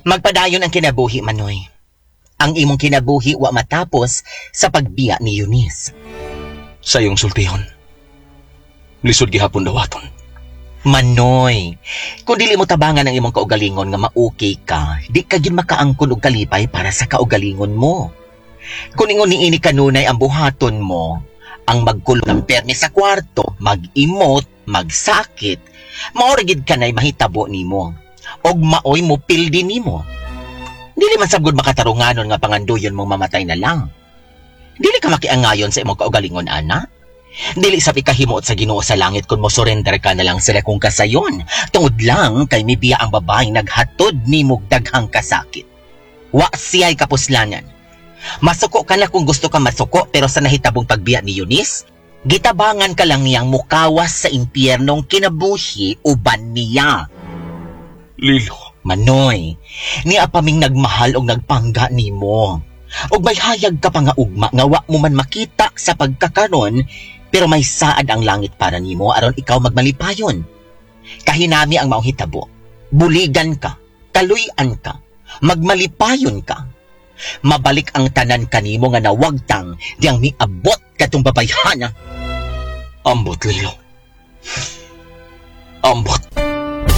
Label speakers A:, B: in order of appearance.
A: Magpadayon ang kinabuhi, Manoy. Ang imong kinabuhi wa matapos sa pagbiya ni Eunice.
B: Sa iyong sultihon, lisod gihapon dawaton.
A: Manoy, kung dili mo tabangan ang imong kaugalingon nga ma-okay ka, di ka gyud makaangkon og kalipay para sa kaugalingon mo. Kung ingon niini kanunay ang buhaton mo, ang magkulong ng permi sa kwarto, mag-imot, magsakit, mao ra gid kanay mahitabo nimo. Og maoy mo pildi nimo. Dili man sabgod makatarunganon nga panganduyon mong mamatay na lang. Dili ka makiangayon sa imong kaugalingon, ana. Dili sa ikahimuot sa Ginoo sa langit kung mo surrender ka na lang sila kung kasayon. Tungod lang kay mibiya ang babae naghatod nimo daghang kasakit. Wa siya'y kapuslanan. Masuko ka na kung gusto ka masuko, pero sa nahitabong pagbiya ni Eunice, gitabangan ka lang niyang mukawas sa impyernong kinabuhi uban niya.
B: Lilo.
A: Manoy, niya pa ming nagmahal og nagpangga nimo. Og may hayag ka pa nga ugma nga wa mo man makita sa pagkakaron, pero may saad ang langit para nimo aron ikaw magmalipayon. Kahinami ang maong hitabo. Buligan ka, kaluy-an ka, magmalipayon ka. Mabalik ang tanan kanimo nga nawagtang diyang miabot katong babayhana.
B: Ambot, Lilo. Ambot.